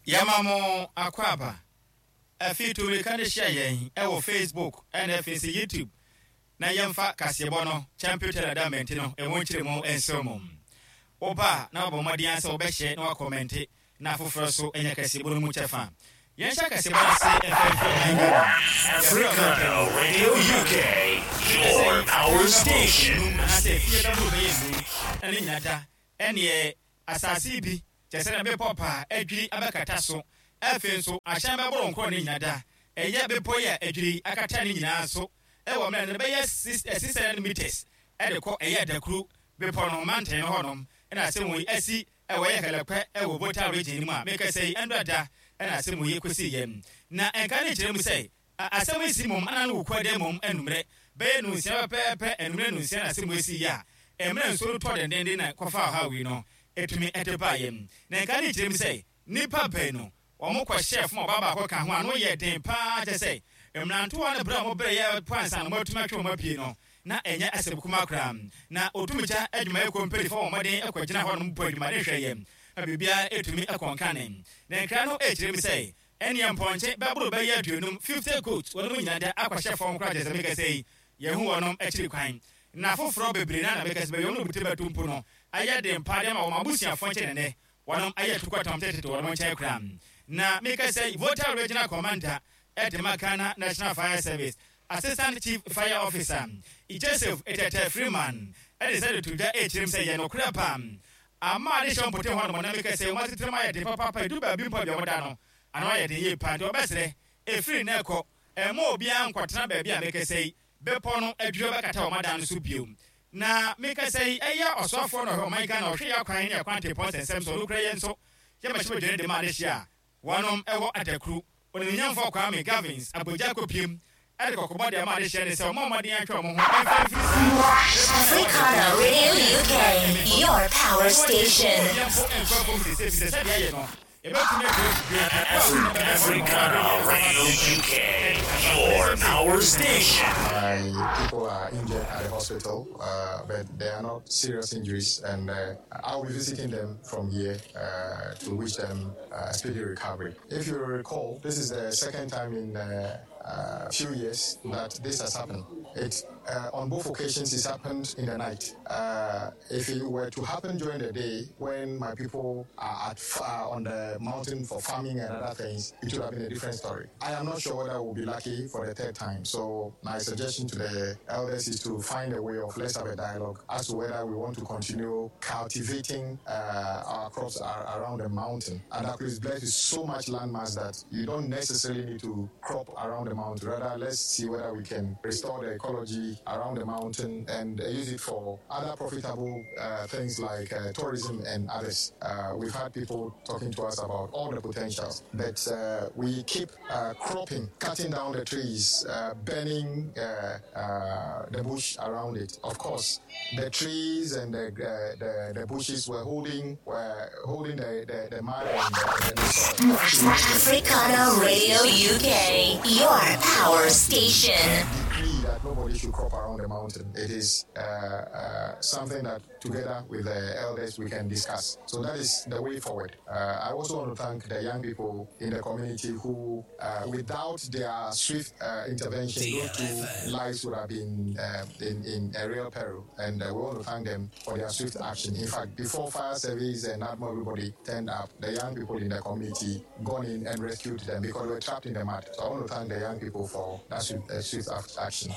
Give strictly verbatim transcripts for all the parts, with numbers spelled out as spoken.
Yɛma mo akwaaba. Afi tumirika de hyia yɛn ɛwɔ Facebook ɛna afei nso YouTube na yɛmfa kaseɛbɔ no Champion Tela da mɛnte no ɛho nkyerɛ mu nsew mu. Woba na wabɔ mmɔden sɛ wobɛhyɛ na wakɔmɛnte na afoforɔ so anya kaseɛbɔ no mu kyɛfa. Yɛnhyɛ kaseɛbɔ no ase ɛfɛmfɛ ɔman Ghana. Africana Radio U K, your power station. Anaasɛ fie bɛboro bɛyɛ num na ne nyina da ɛneɛ asase bi kyɛ sɛ na bepɔ paa adwiri abɛkata so. Afei nso ahyɛn bɛboro nkorɔ ne nyina da ɛyɛ bepɔ yi a adwiri akata ne nyinaa so ɛwɔ mmerɛ no bɛyɛ six hundred meters ɛde kɔ ɛyɛ Adakuru bepɔ no manten no hɔnom ɛna asɛm yi asi ɛwɔ yɛ Hɛlɛpɛ ɛwɔ Volta Region no mu a meka sɛ yi ɛndɔ da ɛna asɛm yi kɔsi yɛm na ɛnka ne kyerɛ mu sɛ asɛm yi si mom ana no wɔ kuada mom anummerɛ bɛyɛ nunsia pɛpɛɛpɛ, anummerɛ nunsia na asɛm yi si yɛ a mmerɛ nsuo no tɔ dendenden na kɔfa ɔhaw yi no ɛtumi ɛde baa yɛm na nka ne kyerɛ mu sɛ nnipa baanu wɔn kɔhyɛ fam, ɔbaa baako ka ho a no yɛ den paa kyɛ sɛ mmerantewa no berɛ a wɔbrɛ yɛ pansa no wɔatumi atwe wɔn apue no na ɛnyɛ asɛm kuma koraa. Na otumigya adwumayɛkuo mpanyinfoɔ wɔn mmɔden kɔgyina hɔ nom bɔ adwumaden hwɛ yɛ na biribiara ɛtumi ɛkɔnkane na nkira no ɛkyerɛ mu sɛ ɛneɛ mpɔnkye bɛboro bɛyɛ aduonum, fifty goat, wɔn mu nyinaa da akɔhyɛ fam koraa kyɛ sɛ meka sɛ yi yɛhu wɔnom akyiri kwan na foforɔ bebree na na meka sɛ bɛyɛ wɔn bute bɛto mpo no ayɛ den paa de ama wɔn abusuafoɔ nkyɛn nɛnɛ wɔnom ayɛ tukɔtɔm tete wɔnom nkyɛn koraa. Na meka sɛ Volta Regional Commander ɛde ma Ghana National Fire Service, Assistant Chief Fire Officer Joseph Etete Freeman, ɛde sɛ de to dwa ɛkyerɛm sɛ yɛ nokorɛ paa ama ade hyɛ mpote hɔ nom na meka sɛ wɔn asetena mu ayɛ den papaapa edu baabi mpo a bia wɔda no ano ayɛ den yie paa, nti wɔbɛsrɛ ɛfiri ne kɔ ɛma obiara nkɔtena baabi a meka sɛ yi bepɔ no adwiri bɛkata wɔn adan no so bio. Na meka sɛ yi ɛyɛ ɔsoafoɔ no ɔhwɛ ɔman Ghana ɔhwɛ yɛ akwan ne akwan tepɔn sɛnsɛm so ɔno kura yɛn nso yɛmɛhyɛ badwane de ma ade hyɛ a wɔnom ɛwɔ Adakuru, Onimnyamfoɔ Kwame Gavins Abogya Kopiem, ɛde kɔkɔbɔ de ama ade hyɛ ne sɛ ɔmo ɔmɔden atwa ɔmo ho ɛmfa mfiri saa. Africana Radio U K, your power station. Africana Radio U K, your power station. My people are injured at the hospital, uh, but they are not serious injuries, and uh, I'll be visiting them from here uh, to wish them uh, speedy recovery. If you recall, this is the second time in a uh, few years that this has happened. It uh, on both occasions it's happened in the night. Uh, if it were to happen during the day when my people are at uh, on the mountain for farming and other things, it would have been a different story. I am not sure whether we'll be lucky for the third time. So my suggestion to the elders is to find a way of let's have a dialogue as to whether we want to continue cultivating uh, our crops ar- around the mountain. And that is blessed with so much landmass that you don't necessarily need to crop around the mountain. Rather, let's see whether we can restore the ecology around the mountain and uh, use it for other profitable uh, things like uh, tourism and others. Uh, we've had people talking to us about all the potentials, but uh, we keep uh, cropping, cutting down the trees, uh, burning uh, uh, the bush around it. Of course, the trees and the, uh, the, the bushes were holding were holding the, the, the mud and the, and the soil. Africana Radio U K, your power station. Decree that nobody should crop around the mountain. It is uh, uh, something that together with the elders we can discuss. So that is the way forward. Uh, I also want to thank the young people in the community who, uh, without their swift uh, intervention, those two lives would have been uh, in, in a real peril. And uh, we want to thank them for their swift action. In fact, before fire service and not everybody turned up, the young people in the community gone in and rescued them because they were trapped in the mud. So I want to thank the young people for that swift, uh, swift action.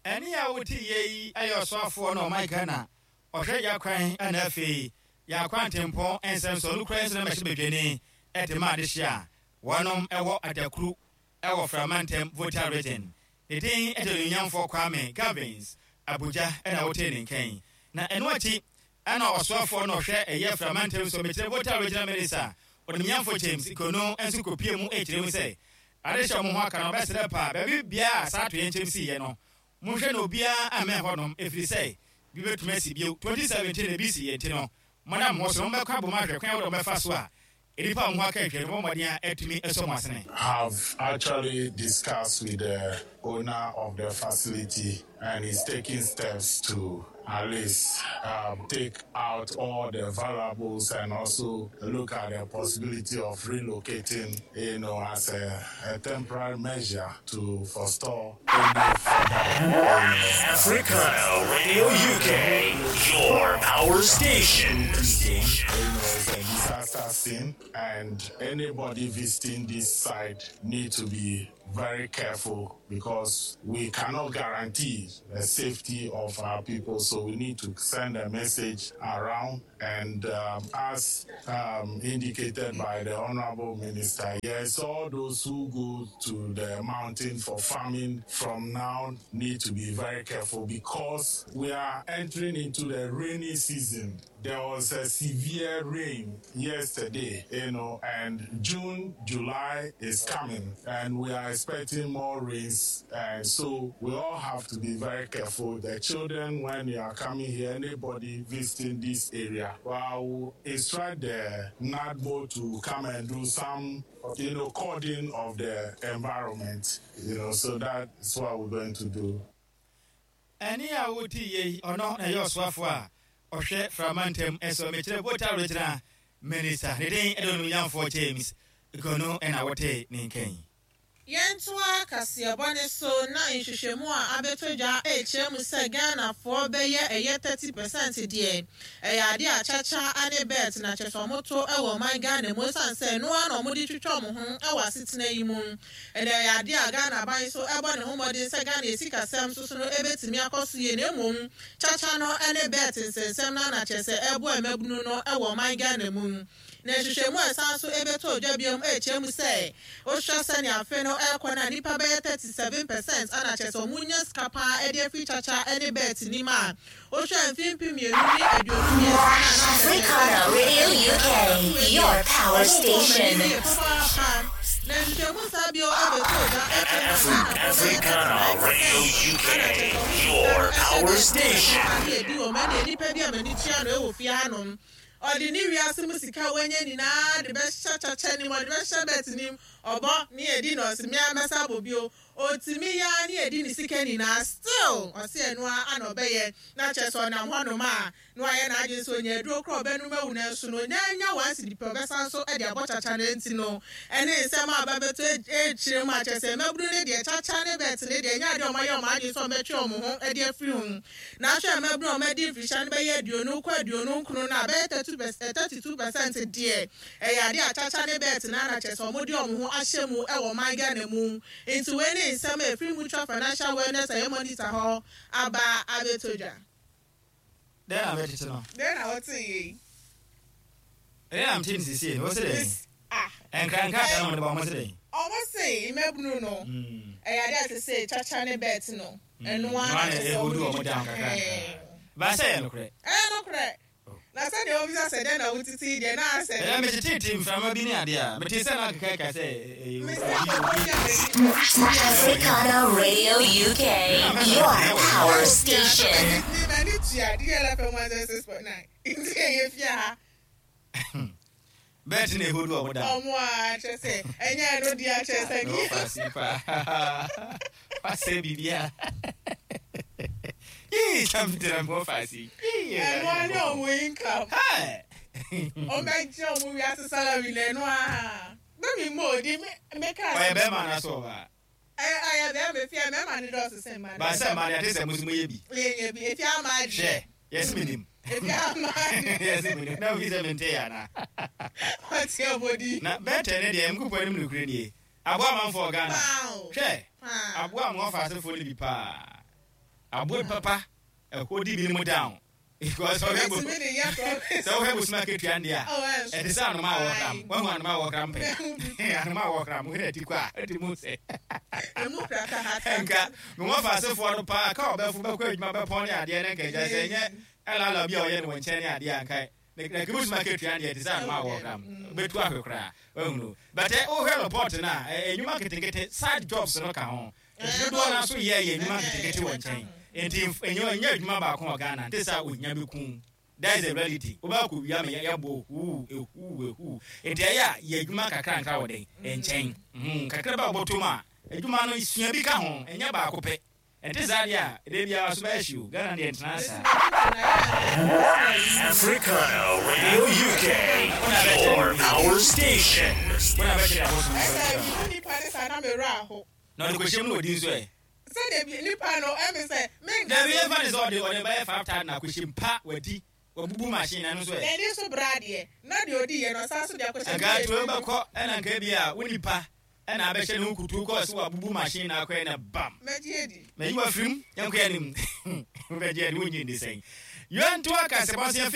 Ɛne a wote yɛ yi ɛyɛ ɔsoafoɔ na ɔman Ghana ɔhwɛ yɛ kwan ɛna afei yɛ akwantempɔn nsɛm so ɔno kura nso na mɛhyɛ badwani ɛde ma adehye a wɔnom ɛwɔ Adakuru ɛwɔ Framantam, Volta Region. Ne din ɛde Onuonyamfoɔ Kwame Gavins Abuja ɛna wote ne nkyɛn. Na ɛno akyi ɛna ɔsoafoɔ na ɔhwɛ ɛyɛ Framantam so, mekyerɛ Volta Regional Minister Onimnyamfo James Kono, nso kɔpie mu ɛkyerɛ mu sɛ adehyɛ ɔmo ho aka no ɔbɛsrɛ paa baabi biara a saa atoyɛ nkyɛm siiɛ no monhwɛ na obiara ammɛn hɔnom ɛfiri sɛ bi bɛtumi asi bio. twenty seventeen na bi si yɛ nti no monam ho so no mobɛkɔ abom ahwɛ kwan a wode wɔbɛfa so a Nipa ho aka ahwɛ no mmɔden a atumi ɛsɔ mo asene. Have actually discussed with the owner of the facility and is taking steps to at least um, take out all the valuables and also look at the possibility of relocating, you know, as a, a temporary measure to forestall any further. Africana Radio U K, your power station. You know, it's a disaster scene, and anybody visiting this site need to be very careful because we cannot guarantee the safety of our people. So we need to send a message around. And um, as um, indicated by the Honorable Minister, yes, all those who go to the mountain for farming from now need to be very careful because we are entering into the rainy season. There was a severe rain yesterday, you know, and June, July is coming, and we are expecting more rains. And so we all have to be very careful. The children, when you are coming here, anybody visiting this area, well, I will instruct the NADMO to come and do some, you know, cording of the environment, you know, so that's what we're going to do. Ɛne a woti yei ɔno na ɛyɛ ɔsoafoɔ a ɔhwɛ frama ntam ɛsɔ mekyerɛ Volta Regional Minister ne den ɛde onumnyamfoɔ James Gono ɛna wɔte ne nkɛn. Yɛntoa kaseɛbɔ ne so na nhwehwɛmu a abɛtɔ dwa ɛrekyerɛ mu sɛ Ghanafoɔ bɛyɛ ɛyɛ thirty percent deɛ ɛyɛ adeɛ a kyakya ne bet na kyerɛ sɛ ɔmoto ɛwɔ ɔman Ghana mu esiane sɛ ɛnoa na ɔmode twitwa ɔmo ho ɛwɔ asetena yi mu. Ɛnna ɛyɛ adeɛ a Ghana aban so ɛbɔ ne ho mmɔden sɛ Ghana esikasɛm soso no ɛbɛtumi akɔ so yie, na mmom kyakya no ɛne bet nsɛnsɛm no ana kyerɛ sɛ ɛboa mmabunu no ɛwɔ ɔman Ghana mu. Na nhwehwɛmu a ɛsan so ɛbɛtɔ dwa biom ɛrekyerɛ mu sɛ wohwɛ sɛnea afe no ɛrekɔ no a, nnipa bɛyɛ thirty seven percent ana kyerɛ sɛ ɔmo nya sika paa ɛde afiri kyakya ɛne bet nim a wohwɛ mfe mpem mmienu ne aduonu mmiɛnsa. Africana Radio U K, your power station. Na nhwehwɛmu saa bio ɛbɛtɔ dwa ɛkyerɛ mu Africana Radio U K, your power station. Ade edi wɔ mu ɛna nipa bi a m'ani tua no ɛwɔ fie hanom, ɔde ne wiase mu sika wanya nyinaa de bɛhyɛ kyakya nim, ɔde bɛhyɛ bet nim, ɔbɔ ne yɛdi na ɔsi mmea mɛsa abɔ bio, otumi ya ne yɛdi ne sika nyinaa, still ɔsi ɛnoa ana ɔbɛyɛ na kyerɛ sɛ ɔnam hɔnom a na wayɛ n'adwene sɛ onya aduro korɔ ɔbɛnum awu, na nso no onya nya one cedi pɛ, ɔbɛsan so ɛde abɔ kyakya no. Nti no ɛne nsɛm a ɔbɛbɛtɔ ekyire mu a kyerɛ sɛ mmabunu ne deɛ kyakya ne bet ne deɛ ɛnyɛ adeɛ ɔmo ayɛ ɔmo adwene sɛ ɔmɛtwe ɔmo ho ɛde afiri ho. Na ahwɛ mmabunu a ɔmɛdi mfirihyia no bɛyɛ aduonu kɔ aduonu nkron no a, bɛyɛ thirty two percent deɛ ɛyɛ adeɛ a kyakya ne bet na ana kyerɛ sɛ ɔmo de ɔmo ho ahyɛ mu ɛwɔ ɔman Ghana mu. Nti wei ne nsɛm a efiri Mutual Financial Wellness ɛyɛ monitor hɔ aba abɛtɔ dwa. Dɛn na mɛtete no? Dɛn na wɔte yie yi? Ɛdɛn na mete ne sisie no wɔ sɛ dɛn? Ah. Ɛnkrankrataa na mode ba ɔmo sɛ dɛn? Ɔmo se mmabunu no ɛyɛ adeɛ a te sɛ kyakya ne bet no ɛnoa na na kyerɛ sɛ ɛhodu ɔmo ɔmo de down twitwa. kakra. Ɛɛ. Ba sɛ yɛ nokorɛ. Ɛyɛ nokorɛ na sɛdeɛ wɔbisa sɛ dɛn na wotete deɛ na asɛ. Ɛnɛ metetete mframa bi ne adeɛ a mete sɛ na akeka ka sɛ ɛyɛ Mesi obi- akɔkɔ obi- bi a m'ani Africana Radio U K, your power station. M'ani tua D L F M one zero six point nine nti ɛyɛ fie ha. Bet na ɛhodu ɔmo down. Ɔmo a kyerɛ sɛ ɛnyɛ ɛno deɛ akyerɛ sɛ Na wɔfa ase paa wasɛ biribia yii samtena wɔfa ase. Ɛno ne ɔmo income. Ɔmo bɛgye ɔmo wiase salary na ɛno a bɛmi mo odi meka. Ɔyɛ bɛrima anaasɛ ɔbaa? Ɛyɛ ɛyɛ bɛrima efie, mɛrima ne dɔɔso sɛn ma. Ba sɛ ma de ate sɛ mo so moyɛ bi. Yɛnyɛ bi efi ama Hwɛ adwe. yɛse menim. Efi ama adwe. Yɛse menim na wofi sɛ mente yɛ anaa? Ɔte ɔbɔdi. Na bɛtɛ ne deɛ mkopɔ anim nokorɛ nie aboa amanfoɔ Ghana. Paa. Hwɛ. Paa. Aboa mo ɔfa asefoɔ no bi paa, aboa bi papa ɛhɔ di bi no mu down because ɔhwɛ bo Ɛtumi de yɛ promise. Sɛ wohwɛ bosoma akatua ndeɛ a Oh, ɛnso. ɛte sɛ anoma a wɔkram. Aye. Wahu anoma a wɔkram pɛ, anoma a wɔkram wohwɛ ati kɔ a ɛte mu sɛ Emu praka hata. Nka mewɔfa asefoɔ no paa ka ɔbɛfo bɛkɔ adwuma bɛpɔn ne adeɛ ne nka agya sɛ ɛnyɛ ɛlala bi a ɔyɛ no wɔ nkyɛn ne adeɛ a nka na kibusuma akatua deɛ ɛte sɛ anoma a wɔkram bɛtu ahwɛ koraa wahunu. But ɛ, wohwɛ report no a ɛ, nnwuma nketenkete side jobs no ka ho nti dodoɔ no nso yɛ yɛ nnwuma nketenkete wɔ nkyɛn nti mf- ɛnyɛ ɛnyɛ adwuma baako wɔ Ghana nte sɛ ohia bɛku. That is the reality. Wobɛkɔ wia ma yɛbɔ huu ehu ehu. Nti ɛyɛ a yɛ adwuma kakra nkra wɔ den nkyɛn Mhm, kakra bɛ wɔbɔtɔ mu a, adwuma no sua bi ka ho, ɛnyɛ baako pɛ. Ɛnte saa deɛ a, ɛdɛ biara so bɛyɛ hyew. Ghana deɛ, ntena saa. Africana Radio U K, your power station. Wona bɛkyerɛ abosom. Ɛsɛ bibi nipa ne saa na mewura aho. Na ɔde kɔhyɛ mu na ɔdi nso ɛ. Sɛdeɛ bi nipa no ɛmi sɛ menka. Dabi, yɛmfa ne sɛ ɔde ɔde bɛyɛ five thousand na akɔhyɛ mu pa, wadi, wabubu machine na no nso ɛ. N'ani so bra deɛ na deɛ odi yɛ no, ɔsan so de akɔhyɛ. Nka tuo bɛkɔ, ɛna nka bi a wo nipa ɛna abɛhyɛ ne ho kutu kɔɔ sɛ wabubu machine na akɔɛ na bam. Mɛgye edi. Mayi wafirim, yɛnkɔ anim. Wobɛgye ade, wonyi ndi sɛn? Yɛnto aka sɛ bɔse yɛmfa.